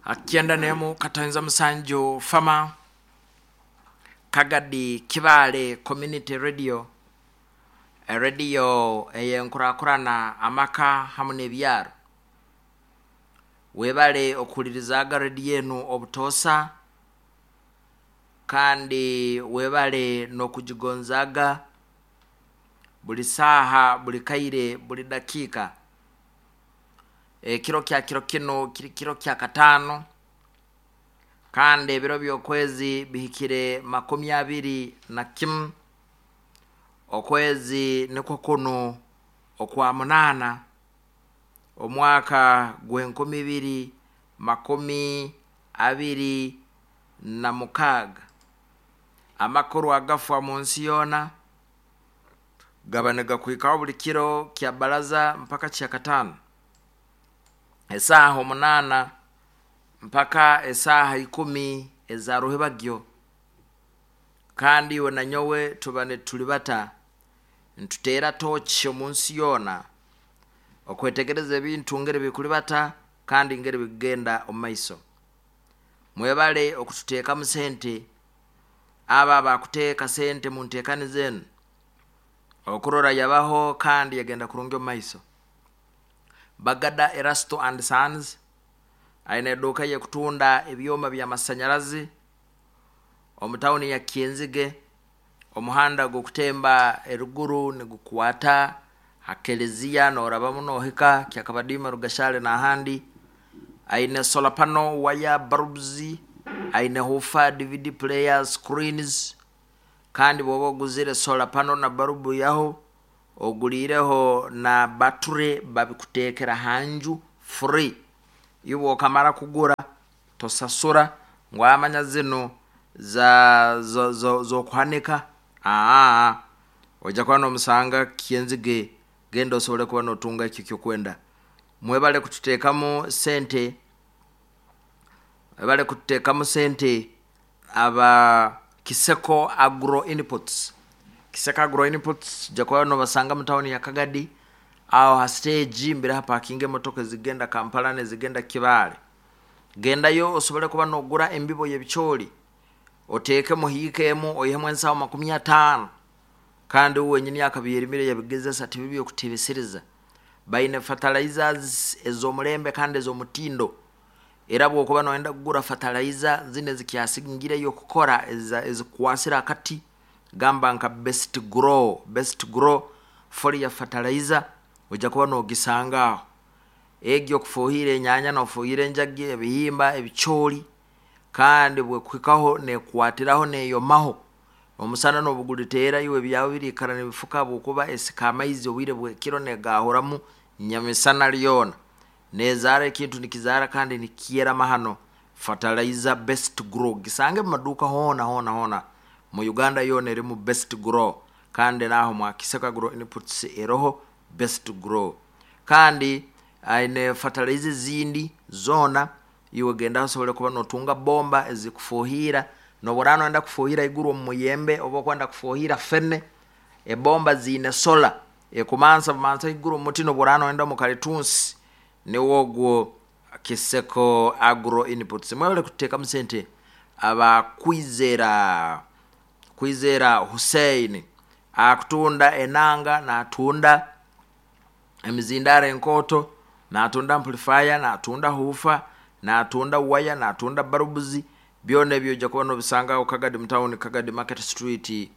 91 katanza musanju fama Kagadi Kibaale Community Radio, erediyo ey'enkurakurana amaka hamu n'ebyaro. Webale okuhulirizaaga rediyo enu obutoosa, kandi webale n'okugigonzaaga buli saaha, buli kaire, buli dakiika. Ekiro kya kiro kinu kiri kiro kya kataano, kandi ebiro by'okwezi bihikire 21, okwezi nikwo kunu okwa munaana, omwaka gw'e2026. Amakuru agafa mu nsi yoona gaba nigakuhikaho buli kiro kya baraza mpaka kya kataano, esaaha 8 mpaka esaaha 10 eza ruhibagyo. Kandi iwe na nyowe tuba nitulibata nituteera tooki omu nsi yoona okwetegereza ebintu ngeri bikulibata kandi ngeri bikugenda omu maiso. Mwebale okututeekamu sente, abo abakuteeka sente mu nteekaniza enu okurora yabaho kandi yagenda kurungi omu maiso. Bagada Erasto and Sons aine eduuka y'ekutunda ebyoma by'amasanyarazi omu tawuni ya Kyenzige. Omuhanda gw'okutemba eruguru nigukwata ha keleziya norabamu nohika Kyakabadiima, Rugashale n'ahandi. Aine solar panel, wire, bulbs, aine woofer, DVD player, screens, kandi bw'oba oguzire solar panel na barubu yaho oguliireho na battery babikuteekera ha nju free. Iwe okamara kugura tosasura ngu amanya zinu za z'okuhanika, aa ojja kuba n'omusanga Kyenzige, genda osobole kuba n'otunga ekyo ekyokwenda. Mwebale kututeekamu sente, mwebale kututeekamu sente aba Kiseko Agro Inputs. Kiseko Agro Inputs ojja kuba nobasanga mu tawuni ya Kagadi, aho ha stage mbere hapakinga emotoka ezigenda Kampala n'ezigenda Kibaale. Gendayo osobole kuba n'ogura embibo y'ebicooli, oteekemu hiika emu oihemu ensaho 50, kandi uwe wenyini akabyerimire yabigezesa tibibi okutebesereza. Baine fertilizers ez'omulembe kandi ez'omutindo. Era bw'okuba noyenda kugura fertilizer zinu ezikyasingireyo kukora ezikwasire akati, gamba nka Best Grow, Best Grow foliar fertilizer ojja kuba n'ogisanga aho. Egi okufuuhira enyaanya n'ofuuhira enjagi, ebihimba, ebicooli, kandi bwekuhikaho neekwatiraho neeyomaho. Omusana n'obu guliteera iwe ebyawe biriikara nibifuka habwokuba esika amaizi obwire bw'ekiro negaahuramu nyamisana lyona. Neezaara ekintu nikizaara kandi nikyera mahano. Fertilizer Best Grow gisange mu maduuka hoona hoona hoona mu Uganda yoona erimu Best Grow, kandi n'aho mwa Kiseko Agro Inputs eroho Best Grow. Kandi aine fertilizer ezindi zoona, iwe gendaho osobole kuba n'otunga bomba ezikufuuhiira. N'obu oraaba noyenda kufuuhira haiguru omu muyembe oba okwenda kufuuhira fene, ebomba ziine solar ekumansa bumansa haiguru omu muti n'obu oraaba noyenda omu kalitunsi. Niwe ogwo Kiseko Agro Inputs. Mwebale kututeekamu sente aba Kwizera, Kwizera Hussein akutunda enanga, n'atunda emizindaaro enkooto, n'atunda amplifier, n'atunda huufa, n'atunda waya, n'atunda bulbs, byona ebyo ojja kuba n'obisanga aho Kagadi mu tawuni, Kagadi Market Street,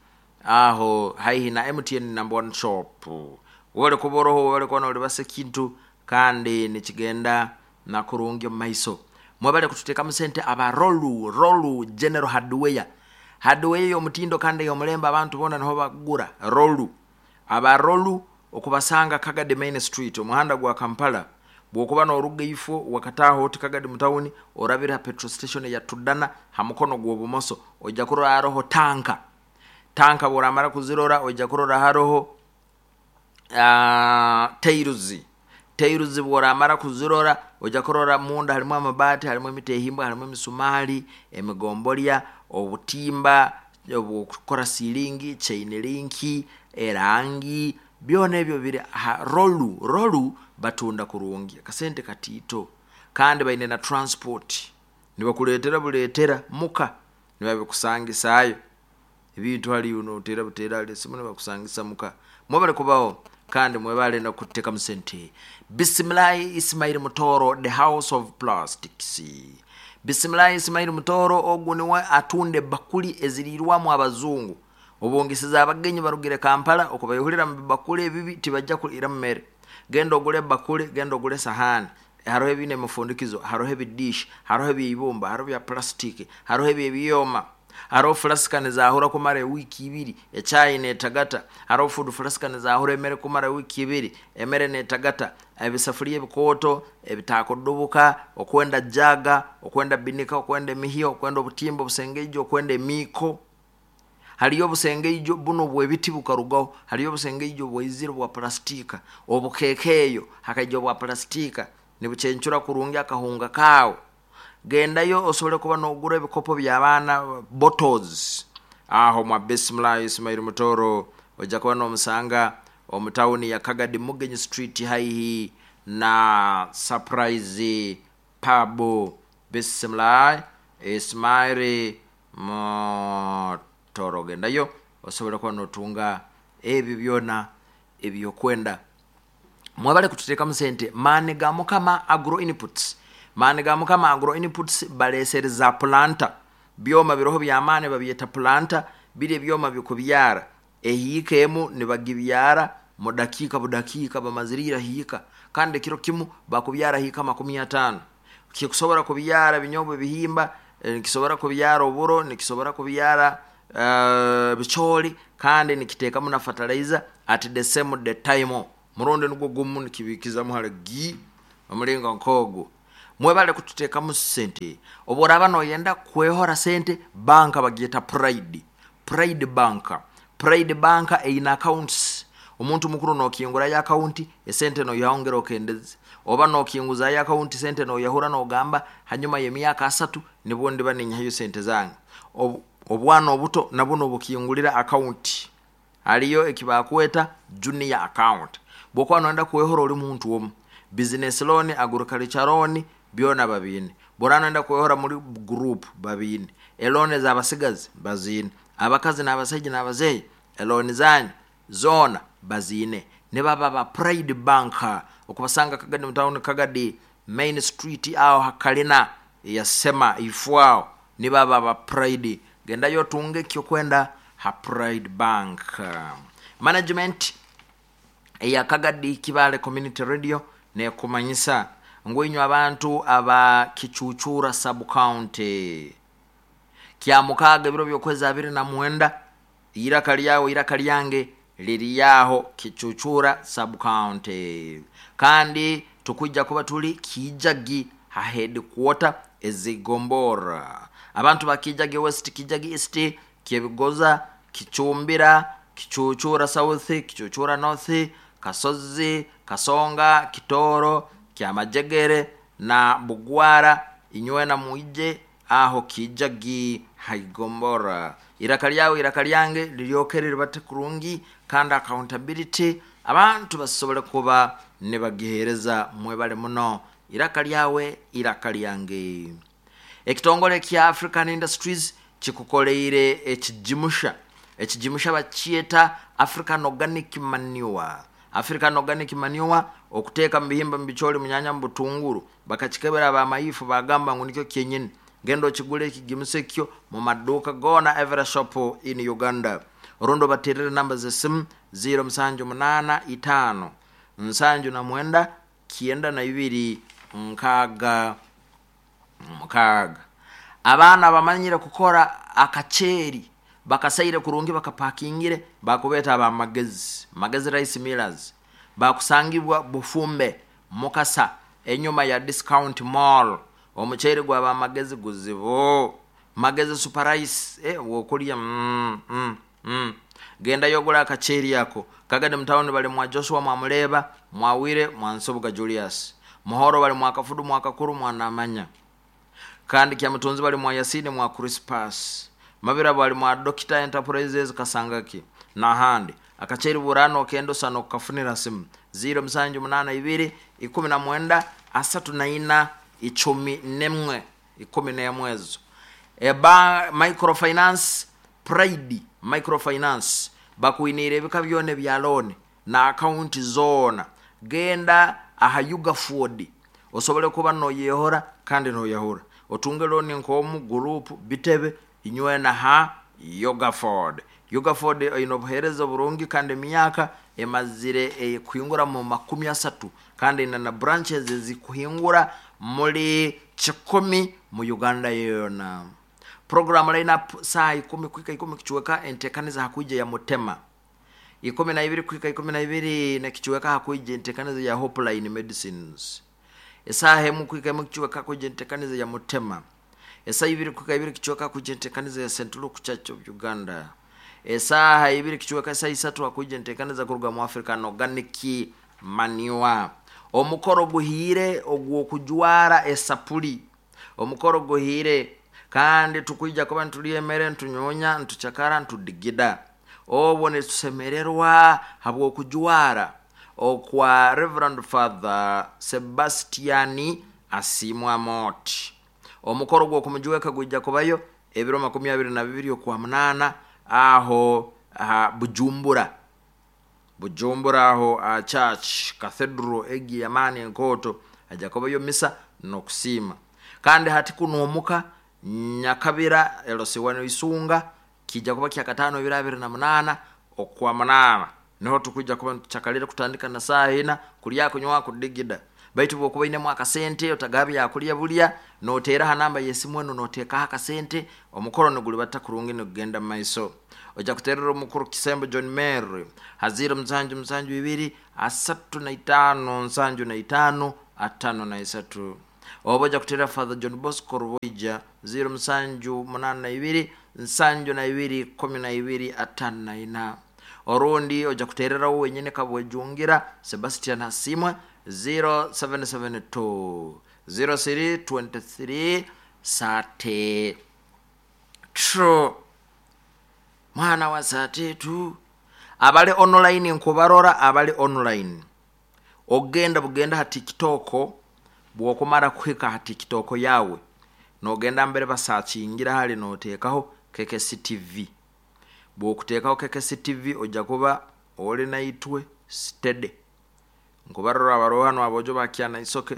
aho haihi na MTN number one shop. Webale kuba oroho, webale kuba n'olibasa ekintu kandi nikigenda na kurungi omu maiso. Mwebale kututeekamu sente aba Rolu, Rolu General Hardware. Hardware ey'omutindo kandi ey'omulembe abantu boona niho bakugura Rolu. Aba Rolu okubasanga Kagadi Main Street, omuhanda gwa Kampala. Bw'okuba n'oruga ifo wakataaha oti Kagadi mu tawuni, orabire ha petrol station eya Tudana ha mukono gw'obumoso, ojja kurora haroho tanka. Tanka bw'oramara kuzirora ojja kurora haroho tairuzi. Tairuzi bw'oramara kuzirora ojja kurora munda harimu amabaati, harimu emitehimbwa, harimu emisumaali, emigombolya, obutimba obw'okukora siiringi, chain link, erangi, byona ebyo biri ha Rolu. Rolu batunda kurungi, akasente katiito, kandi baine na transport. Nibakuleetera buleetera muka, nibabikusangisa ebintu hali noteera buteera hali esimu nibakusangisa muka. Mwebale kubaho kandi mwebale nokuteekamu sente. Bisimilahi Ismail Mutoro, the house of plastics. Bisimilahi Ismail Mutoro ogu niwe atunda ebakuli eziriirwamu abazungu. Obwongesiza abagenyi barugire Kampala okubaihurira mu bibakuli ebibi tibajja kuliiramu mere. Genda ogule ebakuli, genda ogule sahani. Haroho ebiine emifundikizo, haroho ebidishi, haroho eby'eibumba, haroho ebya plastic, haroho eby'ebyoma. Haroho flasika nizaahura kumara ewiiki ibiri, echai neetagata. Haroho food flasika nizaahura emere kumara wiiki ibiri, emere neetagata. Ebisafuriya ebikooto ebitakudubuka, okwenda jaga, okwenda binika, okwenda emihyo, okwenda obutimba obusengeijo, okwenda emiiko. Haliyo obusengeijo buno obw'ebiti bukarugaho, haliyo obusengeijo bwaizire bwa plastika, obukeekeeyo hakaija obwa plastika nibucencura kurungi akahunga kaawe. Gendayo osobole kuba noogura ebikopo by'abaana bottles aho mwa Bisimilahi Ismail Mutoro ojja kuba noomusanga omu tawuni ya Kagadi Mugenyi Street haihi na Surprise Pub. Bisimilahi Ismail Mutoro gendayo osobole kuba nootunga ebyo byona ebyokwenda. Mwebale kututeekamu sente. Maani ga Mukama Agro Inputs. Maani ga Mukama Agro Inputs baleesereza pulanta. Byoma biroho by'amaani babyeta pulanta, biri ebyoma bikubyara. Ehiika emu nibagibyara mu dakiika budakiika bamaziriire hiika kandi ekiro kimu bakubyara hiika 50. Kikusobora kubyara ebinyobwa ebihimba, nikisobora kubyara oburo, nikisobora kubyara bicooli kandi nikiteekamu na fertilizer at the same the time. Murundi nugwo gumu nikibiikizamu hali gi omulingo nk'ogu. Mwebale kututeekamu sente. Obu oraaba nooyenda kwehora sente, banka bagyeta Pride. Pride Bank. Pride Bank eine accounts. Omuntu mukuru nookingurayo akawunti, esente noihaho okendeze. Oba nookinguzaayo akawunti sente nooyahura noogamba hanyuma y'emyaka asatu nibwo ndiba ninyihayo sente zange. Obwana obuto nabwo noobukingulira akawunti. Haliyo eki bakweta junior account. Bw'okuba nooyenda kwehora ori muntu omu, business loan, agriculture loan byona babiine. Bw'oraaba nooyenda kwehora muri group babiine. Elooni ez'abasigazi baziine. Abakazi n'abasaija n'abazeeyi elooni zanyu zoona baziine. Nibaba ba Pride Bank okubasanga Kagadi mu tawuni Kagadi Main Street aho ha kalina eya Sema ifo aho nibaba ba Pride. Gendayo otunge ekyokwenda ha Pride Bank. Management eya Kagadi Kibaale Community Radio neekumanyisa ngu inywe abantu aba Kicucura Sub County Kyamukaaga ebiro by'okwezi 29 iraka lyawe iraka lyange liri aho Kicucura Sub County kandi tukwija kuba tuli Kiijagi ha headquarter ez'Igombora. Abantu ba Kiijagi West, Kiijagi East, Kyebigoza, Kicumbira, Kicucura South, Kicucura North, Kasozi, Kasonga, Kitooro, Kyamajegere na Bugwara inywena mwije aho Kiijagi haigombora. Iraka lyawe iraka lyange liryokere ribate kurungi kandi accountability abantu basobole kuba nibagiheereza mwebale muno. Iraka lyawe iraka lyange. Ekitongole kya African Industries kikukoleire ekijimusha. Ekijimusha bakyeta African Organic Manure. African Organic Manure okuteeka mu bihimba mu bicooli mu nyanya mu butunguru bakakikebera abamayifu bagamba ngu nikyo kyenyini. Genda okigule ekigimusa ekyo mu maduuka goona every shop in Uganda. Orundi obateerere namba z'esimu 0785 79 92 66. Abaana bamanyire kukora akaceeri bakasaire kurungi bakapakingire bakubeeta ab'amagezi, Magezi Rice Millers. Bakusangibwa Bufumbe, Mukasa enyuma ya Discount Mall. Omuceeri gw'abamagezi guzibu. Magezi Super Rice wokulya Gendayo ogule akaceeri ako. Kagadi mu tawuni bali mwa Joshua Mwamuleeba, Mwawire, Mwansubuga Julius. Muhoro bali mwa Kafudu, mwa Kakuru, mwa Namanya. Kandi Kyamutunzi bali mwa Yasini, mwa Crispus. Mabira bali mwa Dokita Enterprises Kasangaki n'ahandi. Akaceeri buraano okenda osana okukafunira simu 0782 19 34 11. 11 ezo. Eba microfinance, Pride Microfinance bakwiniire ebika byona ebya looni na akaunti zoona. Genda aha Ugaford osobole kuba noyehora kandi noyahura, otunge looni nk'omu gurupu bitebe inywena ha Ugaford. Ugaford oine obuheereza oburungi kandi emyaka emazire kuhingura mu 30, kandi ina na branches ezikuhingura muri 100 mu Uganda yoona. Program lineup saa 10 kuhika 10 kichweka entekaniza hakuija ya Mutema, 12 kuhika 12 nekichweka hakuija entekaniza ya Hopeline Medicines, esaha 1 kuhika 1 kichweka hakuija entekaniza ya Mutema, esaha 2 kuhika 2 kichweka hakuija entekaniza ya St. Luke Church of Uganda, esaha 2 kichweka esaha 3 hakuija entekaniza kuruga mu African Organic Manure. Omukoro guhiire ogw'okujwara esapuli, omukoro guhiire kandi tukwija kuba ntulya emere, ntunyonya, ntucakara, ntudigida, obwo nitusemererwa habw'okujwara okwa Reverend Father Sebastian Asiimwe Mot. Omukoro gw'okumujweka gwija kubayo ebiro 22 okwa 8 aho aha Bujumbura, Bujumbura aho aha church cathedral egi yamaani enkooto, haja kubayo misa n'okusiima. Kandi hati kunuumuka Nyakabira LC1 Isunga kijja kuba kya 5 ebiro 28 okwa 8, niho tukwija kuba nitucakalira kutandika na saa 4 kulya kunywa kudigida. Baitu bwokuba inemu akasente otagaba byakulya bulya, noteera ha namba y'esimu enu noteekaho akasente, omukoro nigulibata kurungi nigugenda mu maiso. Ojja kuterera omukuru Kisembo John Mary ha 0 7 7 2 35 75 53. Oba ojja kuterera Father John Bosco Ruboija 0 7 8 2 72 12 54. Orundi ojja kuterera wenyine Kabwejungira Sebastian Hasimwe 0772 03 23 sate tro mwana wa satetu. Abali online nkubarora, abali online ogenda bugenda ha TikTok, bwokumara kuhika ha TikTok yawe nogenda mbere basakingira hali notekaho KKC TV. Bwokutekaho KKC TV ojja kuba oli naitwe steady. Nkubarora abaroha hano abojo bakyana isoke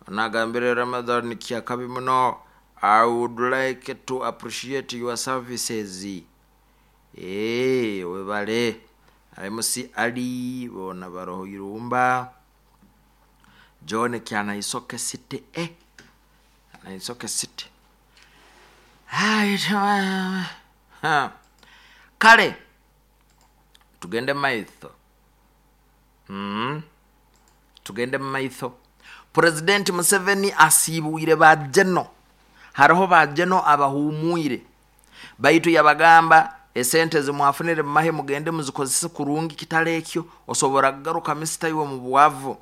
nagambire Ramadhan kyakabi muno, I would like to appreciate your services. Webale MC Ali bona baroho irumba John kyana isoke city na isoke city. Kale tugende maitho. Tugende maitho. President Museveni asiibwire bajeno, hariho bajeno abahumwire, baitu yabagamba esente zimwafunire mumahe mugende muzikozese kurungi kitale ekyo osobora kugaruka misita iwe mu bwavu.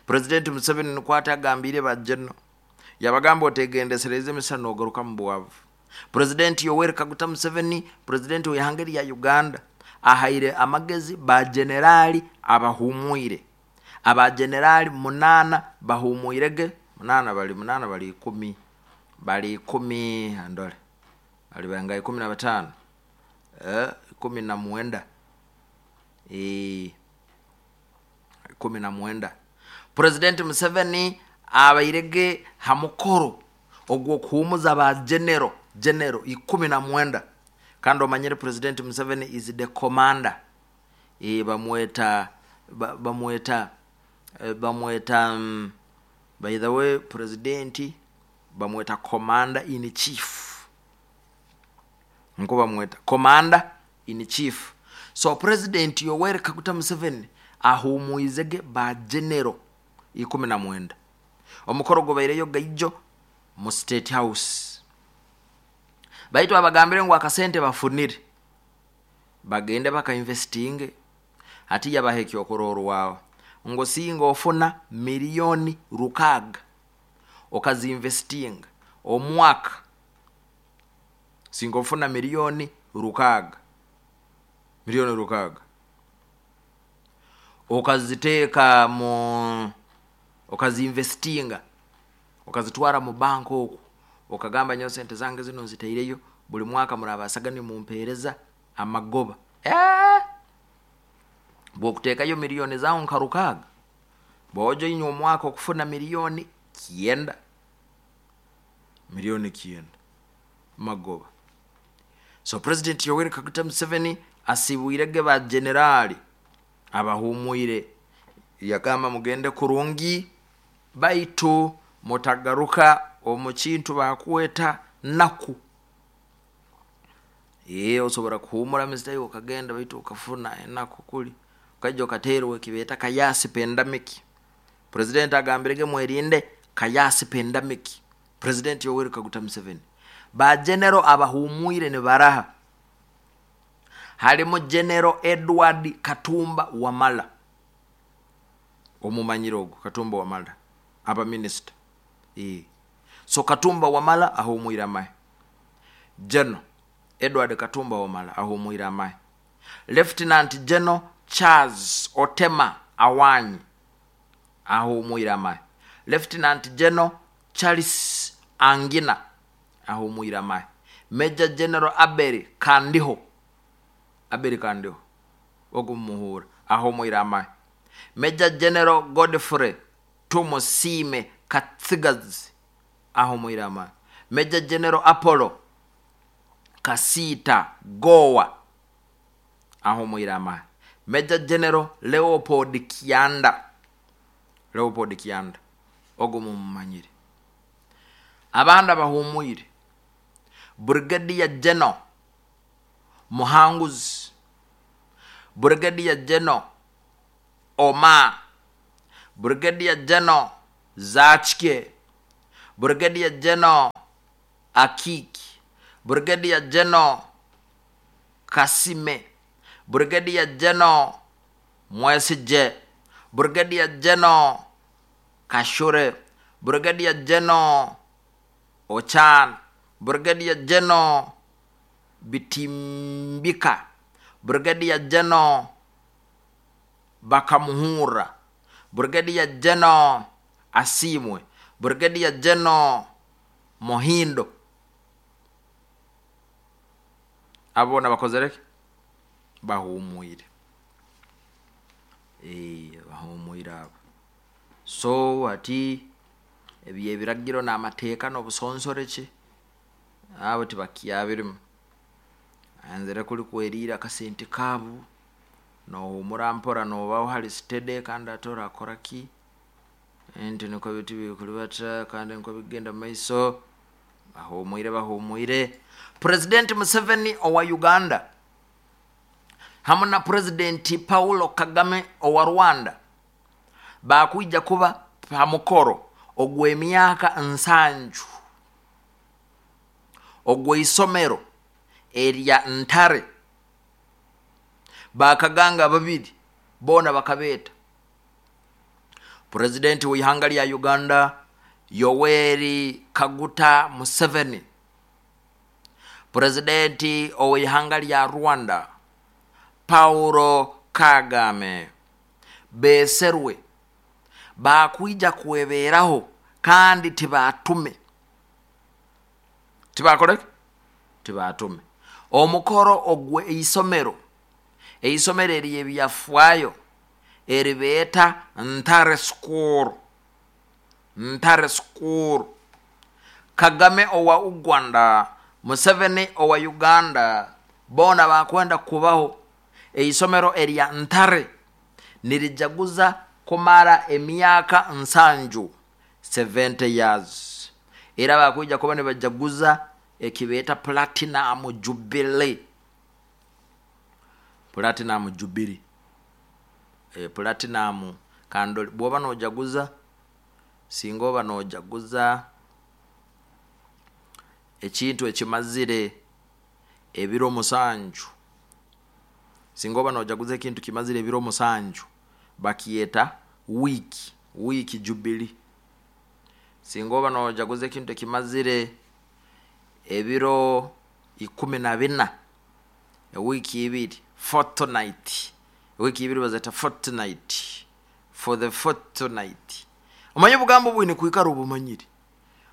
President Museveni nikwata agambire bajeno, yabagamba otegendesereze emisa nogaruka mu bwavu. President Yoweri Kaguta Museveni, president w'ihanga lya Uganda, ahaire amagezi ba generali abahumwire. Aba generali 8 bahumwirege, 8 bali 8 bali 10, bali 10 andole bali banga 15, 19, 19. President Museveni abairege hamukoro ogwo kuhumuza ba general 19. Kandi omanyire President Museveni is the commander. Bamweta bamweta by the way president bamweta commander in chief. Nko bamweta commander in chief. So President Yoweri Kaguta Museveni ahumuizege ba general 19. Omukoro gobaireyo gaijo mu State House. Baitu abagambire ngu akasente bafunire bagende bakainvestinge, hati yabaha ekyokurorwaho ngo singa ofuna milioni 6 okazinvestinga omwaka, singa ofuna milioni 6, milioni 6 okaziteeka mu okazinvestinga Okazitwara mu banka oku, okagamba nyowe sente zange zino nzitaireyo, buli mwaka murabasaga nimumpeereza amagoba. Bw'okuteekayo miliyoni zawe nka 6, bwoja inywe omwaka okufuna 9 miliyoni, 9 miliyoni magoba. So President Yoweri Kaguta Museveni asibwirege ba generali abahumwire, yagamba mugende kurungi, baitu mutagaruka omu kintu bakweta naku. Osobora kuhumura misitayi okagenda, baitu okafuna enaku kuli okaija okateerwa ekibeeta kayasi pandemic. President agambirege mwerinde kayasi pandemic. President Yoweri Kaguta Museveni, ba general abahumwire nibaraha? Halimu General Edward Katumba Wamala, omumanyire ogu Katumba Wamala, aba minisita. So Katumba Wamala ahumwire amahe. General Edward Katumba Wamala ahumwire amahe. Lieutenant General Charles Otema Awanyi ahumwire amahe. Lieutenant General Charles Angina ahumwire amahe. Major General Abel Kandiho, Abel Kandiho ogumuhura, ahumwire amahe. Major General Godfrey Tumusiime Katsigazi ahumwire amahe. Major General Apollo Kasiita Gowa ahumwire amahe. Major General Leopold Kyanda, Leopold Kyanda ogu mumumanyire. Abandi abahumwire: Brigadier General Muhanguzi, Brigadier General Oma, Brigadier General Zakike, Brigadier General Akiki, Brigadier General Kasime, Brigadier General Mwesije, Brigadier General Kashure, Brigadier General Ochan, Brigadier General Bitimbika, Brigadier General Bakamuhura, Brigadier General Asimwe, Brigadier General Mohindo. Abo boona bakozere ki? Bahumwire. Bahumwire abo. So ati ebi ebiragiro n'amateeka n'obusonsoreki, abo tibakyabirimu, anzire kuli kweriira akasente kaabu, nohumura mpora, nobaho hali steady, kandi ate orakora ki? Nti nikwo biti bikulibata kandi nikwo bigenda mumaiso. Bahumwire, bahumwire. President Museveni owa Uganda hamu na President Paulo Kagame owa Rwanda bakwija kuba ha mukoro ogw'emyaka 70 ogw'isomero erya Ntare. Bakaganga babiri boona bakabeeta: Purezidenti w'ihanga lya Uganda Yoweri Kaguta Museveni, Purezidenti ow'ihanga lya Rwanda Paulo Kagame. Beeserwe bakwija kwebeeraho kandi tibatume, tibakoreki, tibatume omukoro ogwe eisomero, eisomero eryebyafaayo eribeeta Ntare School, Ntare School. Kagame owa Uganda, Museveni owa Uganda, boona bakwenda kubaho. Eisomero erya Ntare nirijaguza kumara emyaka 70, 70 years, era bakwija kuba nibajaguza ekibeeta Platinum Jubilee, Platinum Jubilee. Platinum kandi bwoba nojaguza, singa oba nojaguza ekintu ekimazire ebiro 7, singa oba nojaguza ekintu kimazire ebiro 7, bakyeta week, week jubilee. Singa oba nojaguza ekintu ekimazire ebiro 14, ewiiki 2, fortnight, ewiiki 2 bazeta fortnight, for the fortnight. Omanye obugambo bwine kwikara obumanyire.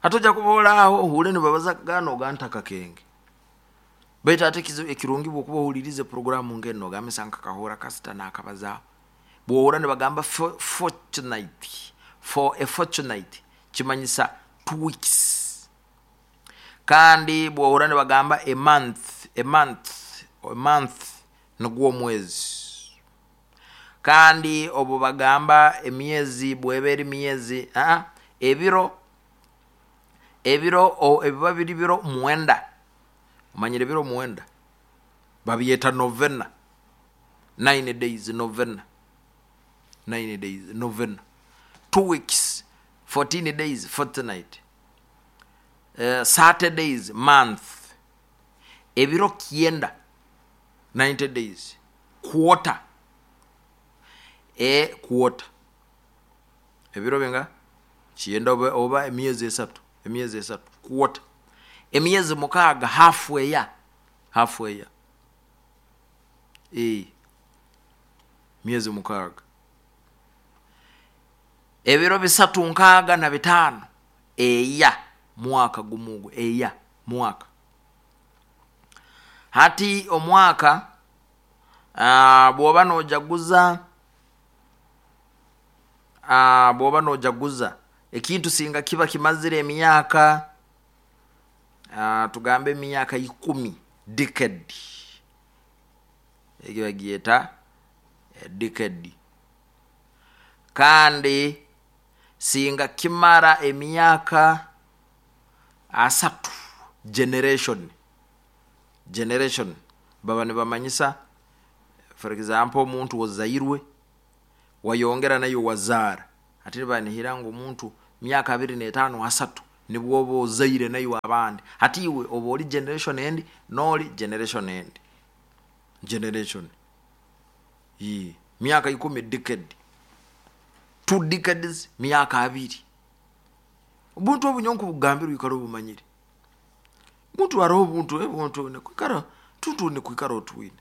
Hati ojja kuba aho ohure nibabaza gano gantaka kenge. Baitu ate ekirungi bwokuba ohulirize programu ngeno ogambe nkakahura kasita nakabazaho. Bwohura nibagamba fortnight, for a fortnight kimanyisa 2 weeks. Kandi bwohura nibagamba a month, a month, a month nigwo omwezi. Kandi obu bagamba emyezi bweba eri myezi ebiro ebiba biri biro 9. Omanyire biro 9 babyeta novena. 9 days novena. 9 days novena. 2 weeks, 14 days fortnight. 30 days month. Ebiro 9, 90 days quarter. Quarter. Ebiro binga 9 oba emyezi 3, emyezi 3 quarter. Emyezi 6 halfway, halfway. Myezi 6. Ebiro 365 eya mwaka gumugu, eya mwaka. Hati omwaka bwoba nojaguza, bwoba nojaguza ekintu singa kiba kimazire emyaka, tugambe emyaka 10, decade. Ekyo bagyeta decade. Kandi singa kimara emyaka 3, generation. Generation baba nibamanyisa, for example, omuntu ozairwe wayongera nayo wazara. Ati nibanihira ngu omuntu myaka 25 3 nibwo oba ozaire nayo abandi. Hati iwe oba oli generation endi noli generation endi. Generation. Myaka 10 decade. 2 decades myaka 2. Obuntu obunyonku bugambirwe ikara obumanyire. Muntu aroho obuntu ebuntu ne kwikara tuntu ne kwikara otwine.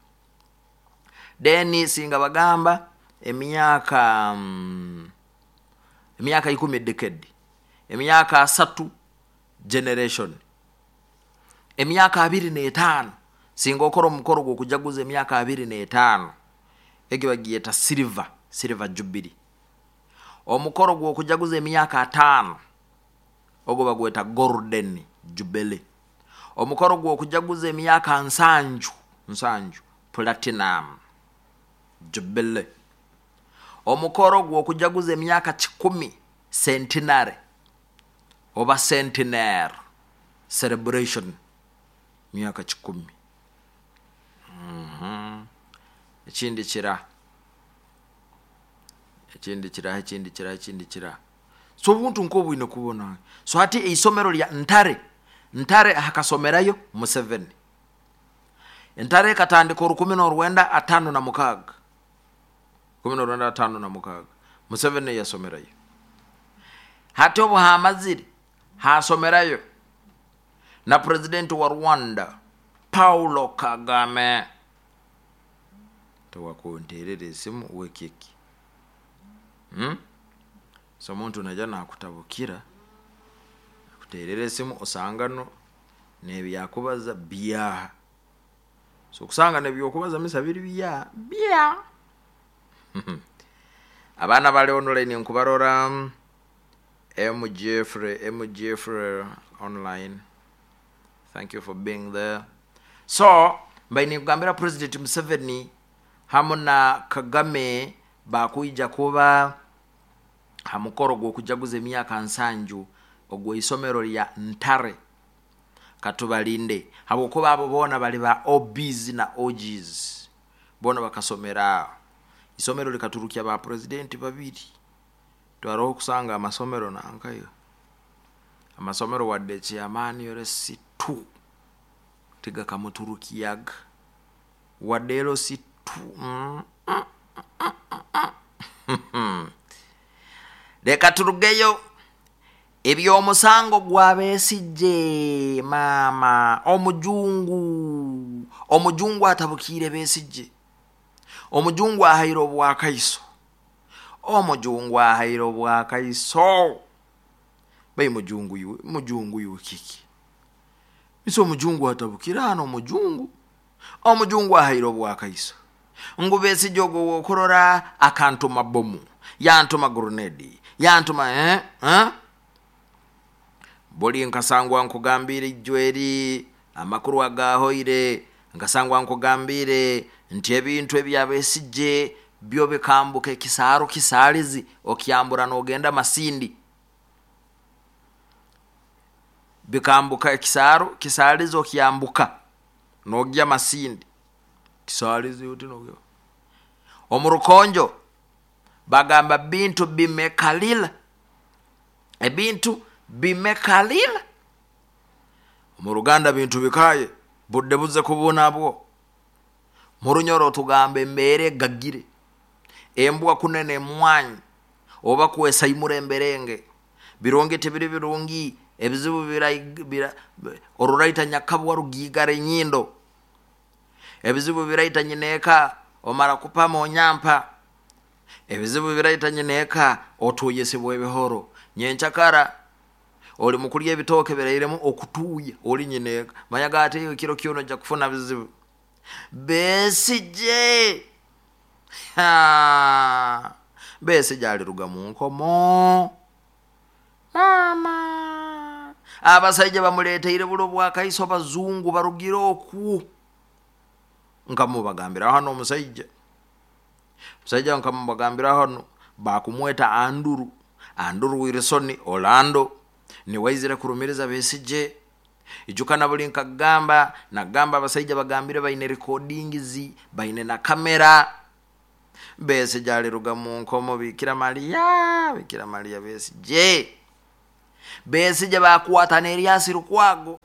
Then singa bagamba emyaka 10 decade. Emyaka 3 generation. Emyaka 25 singa okora omukoro gw'okujaguza emyaka 25 egyo bagiyeta silver jubilee. Omukoro gw'okujaguza emyaka 5 ogwo bagweta golden jubilee. Omukoro gw'okujaguza emyaka 7 platinum jubilee. Omukoro gw'okujaguza emyaka 10 centenary oba centenary celebration, myaka 10. Ekindi kira. Ekindi kira. So obuntu nk'obwine kubona. So hati eisomero lya Ntare, Ntare hakasomerayo Museveni. Ntare katandika 1956. 1956 Museveni yasomerayo. Hati obu hamazire hasomerayo na president wa Rwanda Paulo Kagame. Tawakonterere esimu wekeki. So omuntu naja nakutabukira akuterere esimu osangano nebyakubaza bya. So kusanga nebyokubaza misa biri bya bya. Abana bali online nkubarora M Jeffrey online. Thank you for being there. So mbaine kugambira President Museveni hamu na Kagame bakuija kuba hamukoro gw'okujaguza emyaka 7 ogw'isomero lya Ntare. Katubalinde habwokuba abo bona bali ba OBs na OGs, bona bakasomera isomero likaturukia ba president babiri. Twaroho kusanga amasomero nankayo amasomero wadde chairman yore C2 tiga kamuturukiyaga wadde ero C2. Leka turugeyo ebyomusango gwa Besigye. Mama omujungu atabukire Besigye. Omujungu ahaire obwakaiso. Omujungu ahaire obwakaiso. Bai mujungu iwe, mujungu iwe kiki? Ise omujungu atabukire hano, omujungu. Omujungu ahaire obwakaiso. Ngu Besigye ogwo wokurora akantuma bomu, yantuma grenade, yantuma Buli nkasangwa nkugambire ijweri amakuru agahoire, nkasangwa nkugambire nti ebintu ebya Besigye byo bikambuka ekisaaru kisaalizi okyambura nogenda Masindi. Bikambuka ekisaaru kisaalizi okyambuka nogya Masindi. Kisaalizi oti nogya. Omu rukonjo bagamba bintu bimekalila. Ebintu bimekalila. Omu Ruganda bintu bikaye budde buze kubunabwo. Mu Runyoro tugamba embeera egagire. Embwa kunene emwanyi oba kwesaimura emberenge. Birungi tibiri birungi, ebizibu bira, oruraita nyakabwa rugigara enyindo. Ebizibu biraita nyineeka omara kupama onyampa. Ebizibu biraita nyineeka otuyisibwa ebihoro. Nyenchakara oli mukulya ebitooke birairemu okutuuya oli nyineeka. Manya gati ekiro kyono ojja kufuna bizibu. Besigye! Besigye aliruga mu nkomo. Mama! Abasaija bamuleteire bulo bwakaiso bazungu barugire oku. Nkamubagambira hano omusaija. Omusaija nkamubagambira hano bakumweta Anduru. Anduru Wilson Orlando niwe aizire kurumiriza Besigye. Ijuka na buli nkagamba, nagamba abasaija bagambire baine recordings, baine na kamera. Besigye aliruga mu nkomo Bikira Maria, Bikira Maria Besigye. Besigye bakwata na Erias Lukwago.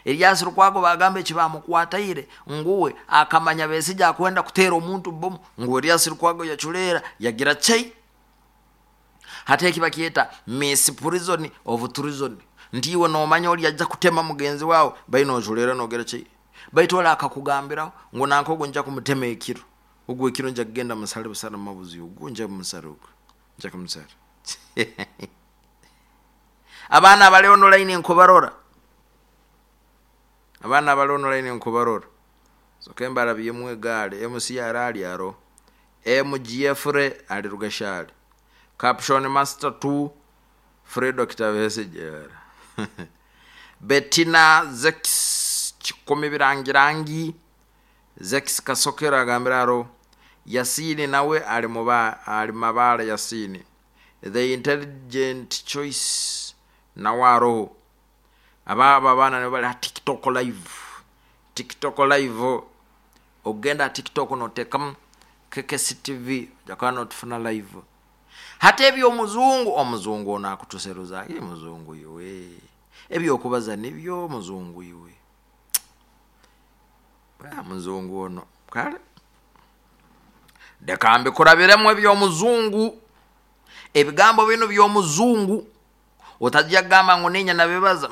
Erias Lukwago bagamba eki bamukwataire nguwe akamanya Besigye akwenda kuteera omuntu bomu, ngu Erias Lukwago yaculeera yagira chei. Hati eki bakyeta Miss Prison of Treason. Nti iwe nomanya oli ajja kutema mugenzi wawe, baine oculeera nogera chei. Baitu oli akakugambiraho ngu nanka ogu nja kumutema ekiro. Ogu ekiro nja kugenda musale busale mabuzi ogu nja musale ogu. Nja kumusale. Abaana abali online nkubarora. Abaana abali online nkubarora. Soke mbarabyemu egaari, MCR ali aro. MGF ali Rugashari. Caption Master 2 Fredo Kitabesigyera. Bettina Zex Kikumi Birangirangi Zex Kasokero agambira aro. Yasini nawe ali muba ali mabala Yasini. The Intelligent Choice nawe aroho. Aba abaana nibo bali ha TikTok live. TikTok live. Ogenda TikTok notekamu KKC TV jakana notufuna live. Hata eby'omuzungu, omuzungu ono akutuseruza, ye muzungu iwe. Ebyokubaza nibyo muzungu iwe. Muzungu ono kale. Leka mbikurabiremu eby'omuzungu. Ebigambo bino by'omuzungu otajja kugamba ngu ninya nabibaza.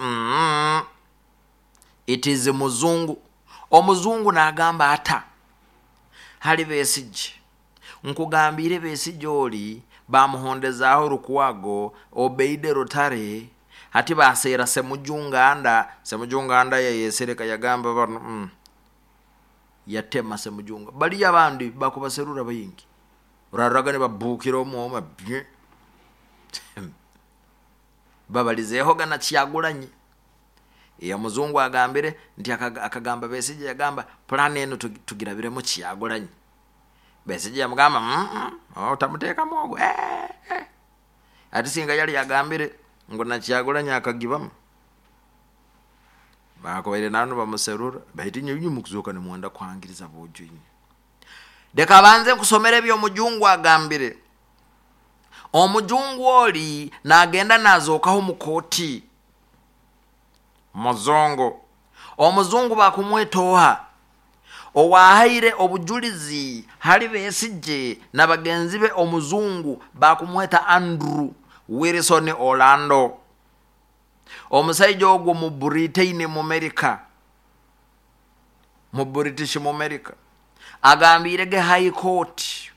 It is muzungu. Omuzungu n'agamba ata hali Besigye. Nkugambire Besigye oli bamuhondezaaho Lukwago Obeide Rutare hati baseera Semujunganda. Semujunganda yayesereka yagamba bano yatema Semujunga. Bali abandi bakubaserura baingi. Uraraga ne babukira omwoma bye. Babalizeeho gana Kyagulanyi. Ya muzungu agambire nti akagamba Besigye yagamba plan eno tugirabiremu Kyagulanyi. Besigye yamugamba otamuteekamu ogwo. Ati singa yali yagambire ngu na Kyagulanyi akagibamu. Bakubaire nanu bamuserura baitu inye mukuzoka nimwenda kuhangiriza bojo inye. Leka banze nkusomera eby'omujungu agambire. Omujungu oli nagenda nazokaho mu kooti. Muzungu. Omuzungu bakumwetoha. Owahaire obujulizi hali Besigye na bagenzi be omuzungu bakumweta Andrew Wilson Orlando. Omusaija ogwo mu Britain mu America. Mu British mu America. Agambire ge High Court.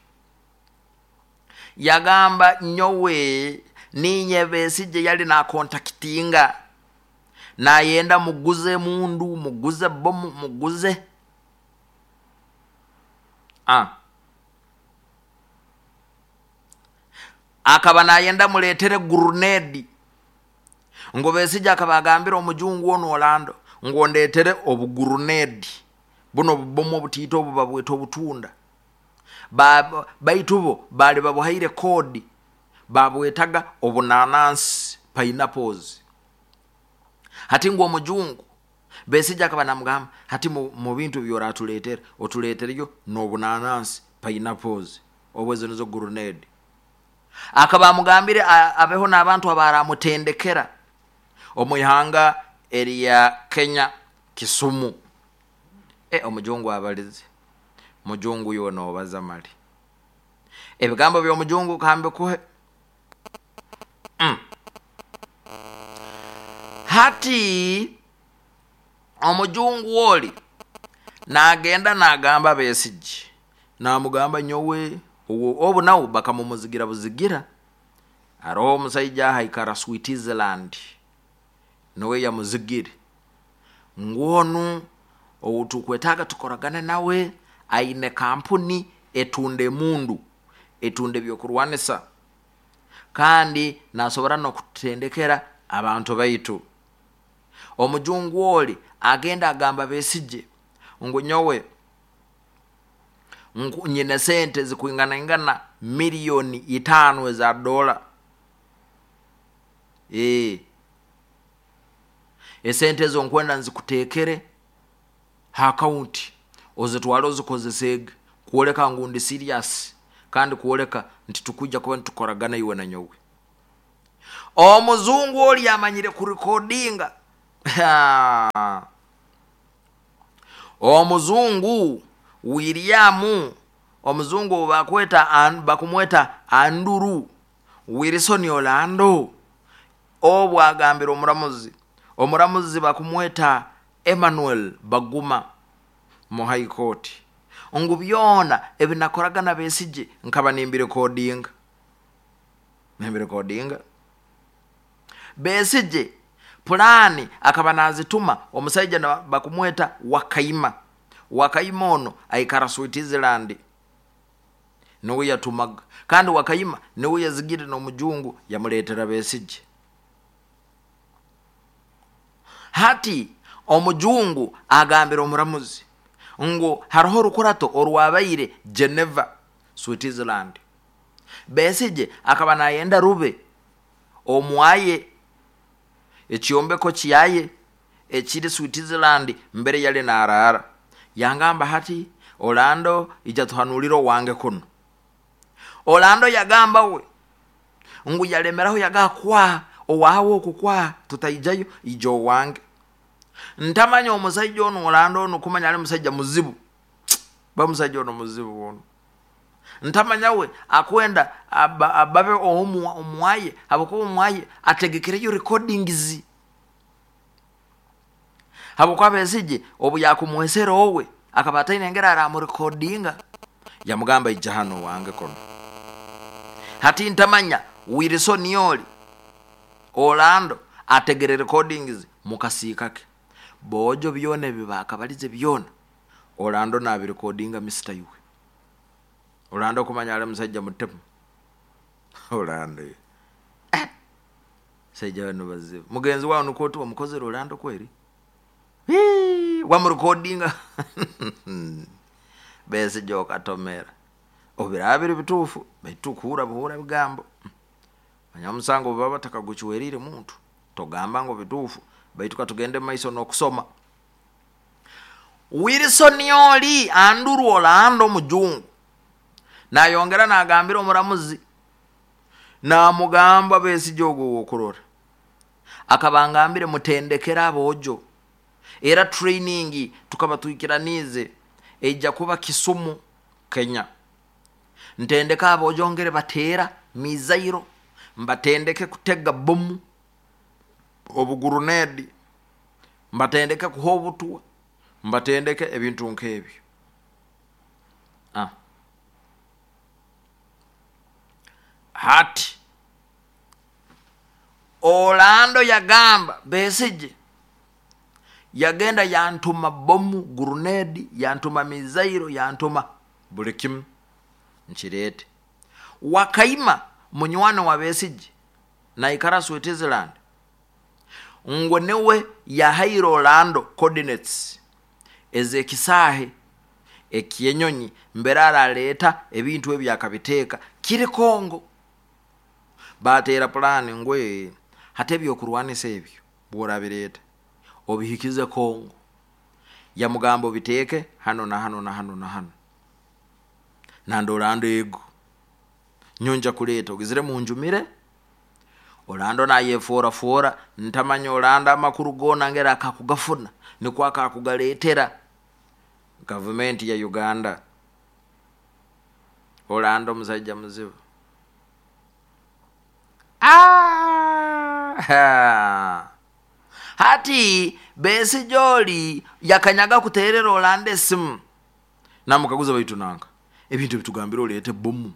Yagamba nyowe Ninye Besigye yali nakontakitinga, nayenda muguze mundu, muguze bomu, muguze akaba nayenda muletere gurunedi. Ngo Besigye akaba agambira omujungu ono Orlando ngo ndetere obugurunedi buno obubomu obutiito obu babweta obutunda. Baitu bo bali babuhaire kodi, babwetaga obunanansi, pineapples. Hati ngu omujungu Besigye akaba namugamba hati mu bintu byoratuletera otuletereyo n'obunanansi, pineapples, obwo ezo nizo gurunedi. Akaba amugambire abeho n'abantu abaramutendekera omu ihanga erya Kenya, Kisumu. Omujungu abalize, mujungu iwe nobaza mali ebigambo by'omujungu kambikuhe. Hati omujungu oli nagenda nagamba Besigye, namugamba nyowe obu nawe bakamumuzigira buzigira. Aroho omusaija haikara Switzerland niwe yamuzigire, ngu onu ou tukwetaaga tukoragane nawe, aine kampuni etunda emundu, etunda ebyokurwanisa, kandi nasobora n'okututendekera abantu baitu. Omujungu oli agenda agamba Besigye ngu nyowe nyine sente zikwinganaingana milioni 5 eza dola. Esente ezo nkwenda nzikutekere ha akaunti ozitwale ozikozesege kwoleka ngu ndi serious kandi kwoleka nti tukwija kuba nitukoragana iwe na nyowe. Omuzungu oli amanyire kurikodinga. Omuzungu William, omuzungu bakumweta Andrew Wilson Orlando, obu agambira omuramuzi, omuramuzi bakumweta Emmanuel Baguma mu High Court, ngu byona ebinakoraga na Besigye nkaba nimbirekodinga, nimbirekodinga. Besigye pulani akaba nazituma omusaija bakumweta Wakaima. Wakaima ono aikara Switzerland, niwe yatumaga, kandi Wakaima niwe yazigire n'omujungu yamuletera Besigye. Hati omujungu agambira omuramuzi ngu hariho orukurato orwabaire Geneva, Switzerland. Besigye akaba nayenda rube omwaye ekyombeko kyaye ekiri Switzerland mbere yali narara. Yangamba hati Orlando ija tuhanulire owange kuno. Orlando yagamba we ngu yalemeraho yagakwa owawe okukwa tutaijayo ija owange. Ntamanya omusaija ono Orlando ono kumanya ali musaija muzibu, ba musaija ono muzibu ono. Ntamanya we akwenda ababe omwaye, habwokuba omwaye ategekereyo recordings. Habwokuba Besigye obu yakumwesera owe akaba ataine engeri aramurekodinga, yamugamba ija hano wange kono. Hati ntamanya Wilson oli Orlando ategere recordings mukasiika ke bojo byona ebi bakabalize byona Orlando nabirekodinga Mr. Iwe. Orlando kumanya ali musaija mutemu. Orlando saija bano bazibu. Mugenzi wawe nuko tu wamukozere Orlando kweri? Wamurekodinga. Besigye okatomera obirabire bituufu baitu kuhura buhura bigambo. Manya omusango baba batakaguchwerire muntu togamba ngo bituufu, baitu katugende maiso n'okusoma. Wilson oli Andrew Orlando omujungu nayongera nagambira omuramuzi, namugamba Besigye ogwo wokurora akaba ngambire mutendekera abojo, era training tukaba twikiranize ejja kuba Kisumu Kenya. Ntendeka abojo ngere batera mizairo, mbatendeke kutega bomu obugurunedi, mbatendeke kuha obutwa, mbatendeke ebintu nk'ebyo. Hati Orlando yagamba Besigye yagenda yantuma bomu, gurunedi, yantuma mizairo, yantuma buli kimu nkireete. Wakaima munywani wa Besigye naikara Switzerland, ngu niwe yahaire Orlando coordinates ez'ekisaahe ekyenyonyi mbere araleeta ebintu ebi akabiteeka kiri Kongo. Bateera pulaani ngu hati ebyokurwanisa ebyo bw'orabireeta obihikize Kongo, yamugamba obiteeke hano na hano na hano na hano, nandi Orlando ego nyonja kuleeta ogizire munjumire. Orlando nayeforafoora ntamanya Orlando amakuru goona ngeri akakugafuna nikwo akakugaleetera gavumenti ya Uganda. Orlando omusaija muzibu. Hati Besigye oli yakanyaga kuteerera Orlando esimu namukaguza, baitu nanka ebintu ebitugambire oleete bomu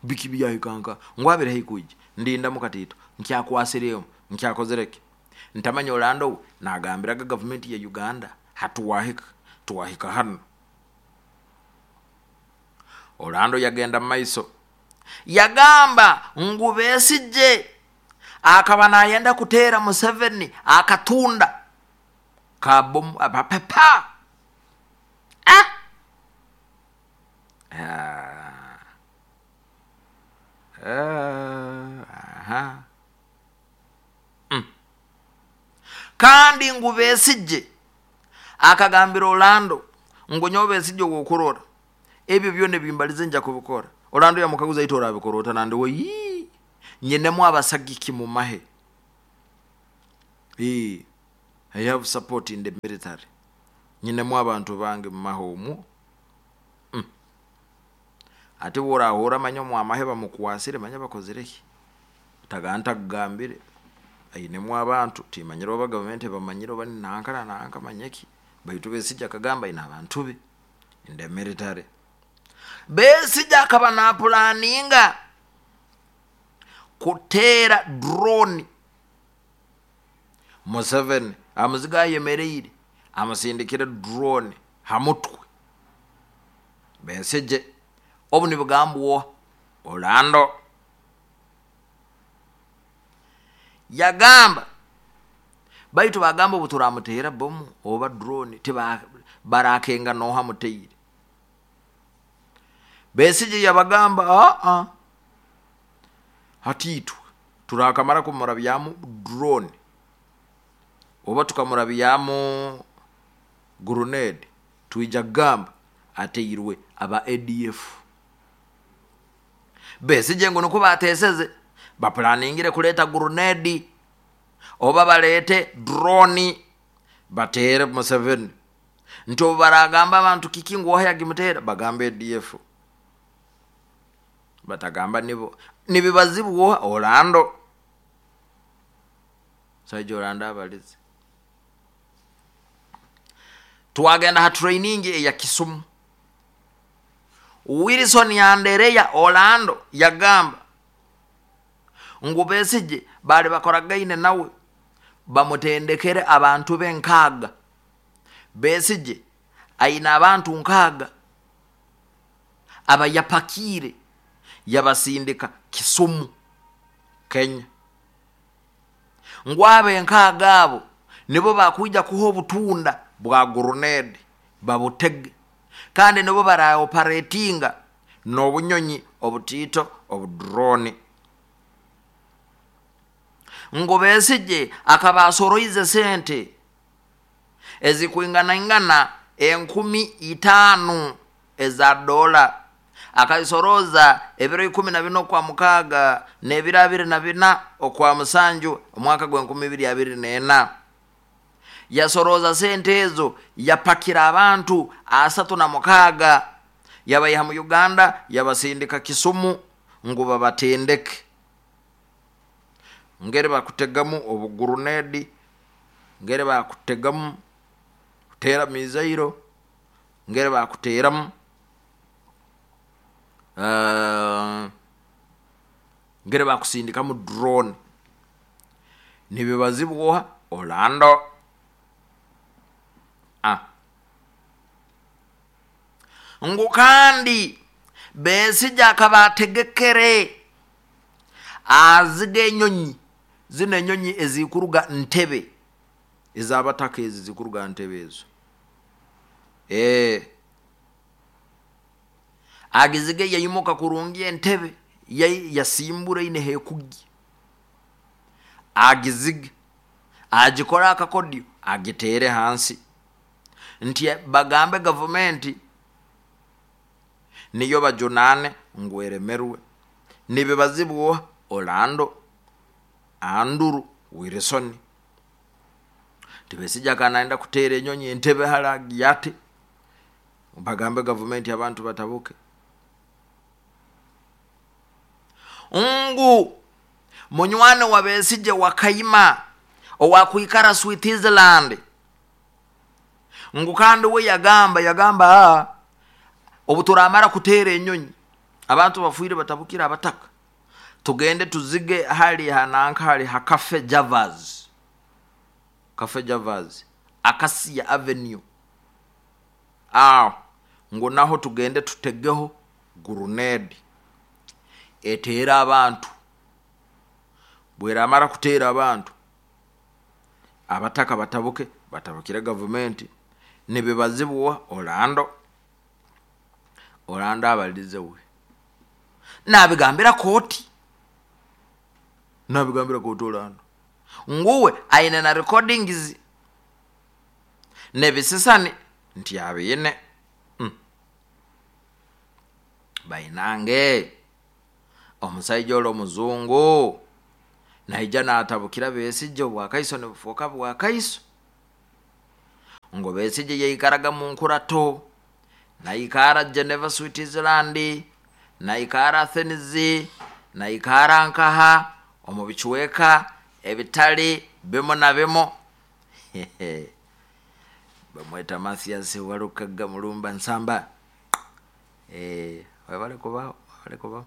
biki byahikanka ngu abire haikwija ndindamu katiito nkyakwasiremu nkyakozereki. Ntamanya Orlando we nagambiraga gavumenti ya Uganda hatuwahika twahika hano. Orlando yagenda mumaiso yagamba ngu Besigye akaba nayenda kuteera Museveni akatunda kabomu apapa. Kandi ngu Besigye akagambira Orlando ngu nyowe Besigye wokurora ebyo byona ebimbalize nja kubikora. Orlando yamukaguza, ito orabikora ota? Nandi we yii nyinemu abasagiki mu mahe. I have support in the military, nyinemu abantu bange mu mahe omwo. Ati bworahura manya omwamahe bamukwasire manya bakozireki tagantakugambire ainemu abantu timanyire oba gavumenti bamanyire oba nanka na nanka manyeki, baitu Besigye akagamba aine abantu be in the military. Besigye akaba napulaninga kuteera drone Museveni amuziga ayemereire amusindikire drone hamutwe Besigye. Obu nibugambwa Orlando yagamba, baitu bagamba obu turamuteera bomu oba drone tiba barakenga noha muteire. Besigye yabagamba aa hati itwe turakamara kumurabyamu drone oba tukamurabyamu grenade twija kugamba ateirwe aba ADF. Besigye ngu nikwo bateseze bapulaningire kuleeta grenade oba baleete drone bateere Museveni, nti obu baragamba abantu kiki ngu oha yagimuteera bagamba ADF, batagamba nibo nibibazibwa Orlando. Saija Orlando abalize. Twagenda ha training eya Kisumu. Wilson Andereya Orlando yagamba ngu Besigye bali bakoragaine nawe bamutendekere abantu be nkaaga. Besigye aina abantu nkaaga abayapakiire yabasindika Kisumu Kenya, ngu abo enkaaga abo nibo bakwija kuha obutunda bwa grenade babutege, kandi nibo baraoperatinga n'obunyonyi obutiito obudrone. Ngu Besigye akaba asoroize sente ezikwinganaingana 5,000 eza dola, akazisoroza ebiro 14 okwa mukaaga n'ebiro 24 okwa musanju omwaka gwa 2024. Yasoroza sente ezo yapakira abantu 36 yabayiha mu Uganda yabasindika Kisumu ngu babatendeke ngeri bakutegamu obugurunedi, ngeri bakutegamu kuteera mizairo, ngeri bakuteeramu ngeri bakusindikamu drone. Nibibazibwa Orlando. Ngu kandi Besigye akaba ategekere aziga enyonyi zino, enyonyi ezikuruga Ntebe, ezabataka, ezi zikuruga Ntebe ezo, agizige yaimuka kurungi Entebe, yasimbura ine hekugi, agizige agikore akakodyo agitere hansi, nti bagambe gavumenti niyo bajunane ngu eremerwe. Nibibazibwa Orlando Andrew Wilson. Tibesijja akanaenda kuteera enyonyi Entebe hali agiyate, bagambe gavumenti, abantu batabuke. Ngu munywani wa Besije Wakayima owakwikara Switzerland, ngu kandi we yagamba, obu turamara kuteera enyonyi abantu bafuire batabukira abataka, tugende tuzige hali hananka hali ha Cafe Javas, Cafe Javas, Acacia Avenue aho, ngu naho tugende tutegeho grenade eteere abantu. Bweramara kuteera abantu, abataka batabuke, batabukire gavumenti. Nibibazibwa Orlando. Orlando abalize we nabigambira kooti, nabigambira kooti Orlando nguwe aine na recordings nebisisani nti abiine. Bainange, omusaija oli omuzungu naija natabukira Besigye, obwakaiso nibufuuka bwakaiso ngu Besigye yaikaraga mu nkurato, naikara Geneva, Switzerland, naikara Athens, naikara nkaha omu bicweka ebitali bimu na bimu. Bamweta Mathias Walukaga Mulumba Nsamba. Webale kubaho, webale kubaho.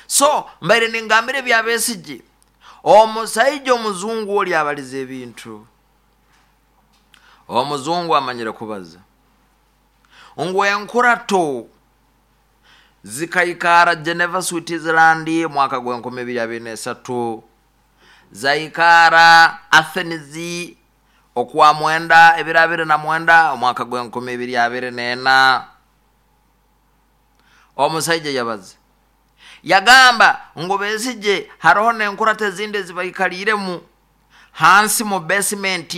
So mbaire ningambira ebya Besigye, omusaija omuzungu oli abaliza ebintu, omuzungu amanyire kubaza. Ngu enkurato zikaikara Geneva, Switzerland, mwaka gw'2023, zaikara Athens okwa 9 29 omwaka gw'2024. Omusaija yabaza yagamba ngu Besigye haroho n'enkurato ezindi ezibaikaliiremu hansi mu basement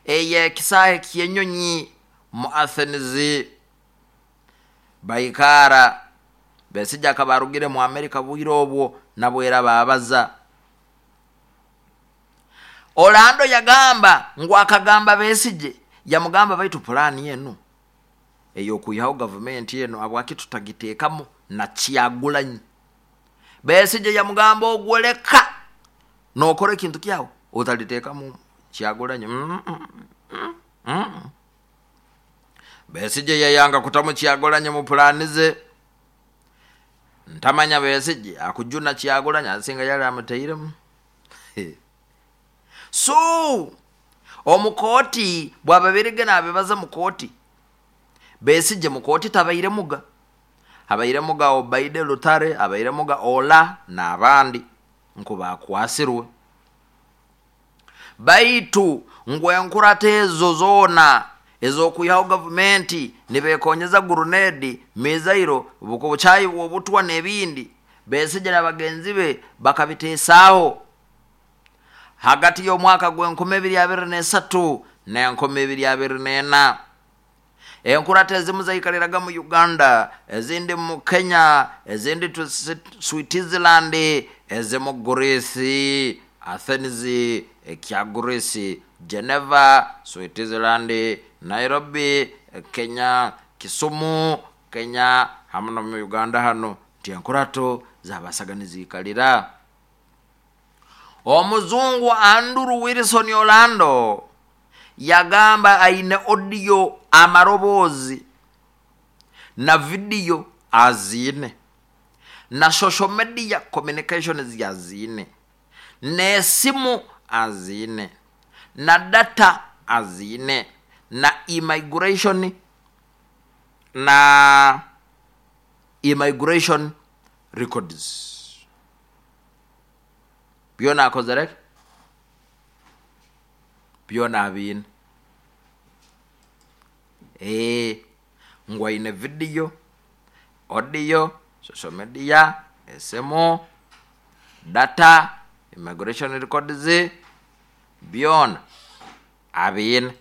ey'ekisaahe ky'enyonyi mu Athens baikara. Besigye akaba arugire mu Amerika bwire obwo nabwera babaza. Orlando yagamba ngu akagamba Besigye, yamugamba, baitu pulaani enu ey'okwihaho gavumenti eno habwaki tutagiteekamu na Kyagulanyi? Besigye yamugamba, ogwoleka nokora ekintu kyawe otaliteekamu Kyagulanyi. Besigye yayanga kutamu Kyagulanyi mu pulaani ze. Ntamanya Besigye akujuna Kyagulanyi asinga yali amutairemu. So omukooti bwababirige nabibaza mukooti, Besigye mukooti tabairemuga, abairemuga Obaide Lutare, abairemuga Ola n'abandi nku bakwasirwe. Baitu ngu enkurata ezo zoona ez'okwihaho gavumenti nibekonyeza grenade, missile, bukyayi bw'obutwa n'ebindi, Besigye na bagenzi be bakabiteesaaho hagati y'omwaka gw'2023 n'2024. Enkurata ezimu zaikaliraga mu Uganda, ezindi mu Kenya, ezindi Switzerland, ezimu Greece, Athens ekya Greece, Geneva, Switzerland, Nairobi, Kenya, Kisumu, Kenya, hamu nomu Uganda hano, nti enkurato zabasaga niziikalira. Omuzungu Andrew Wilson Orlando yagamba aine audio, amaroboozi na vidiyo aziine, na social media communications yaziine, n'esimu. aziine, na data aziine, na immigration, na immigration records byona akozere ki? Byona abiine. Eeh, ngu aine video, audio, social media, esimu, data, immigration records, byona abiine.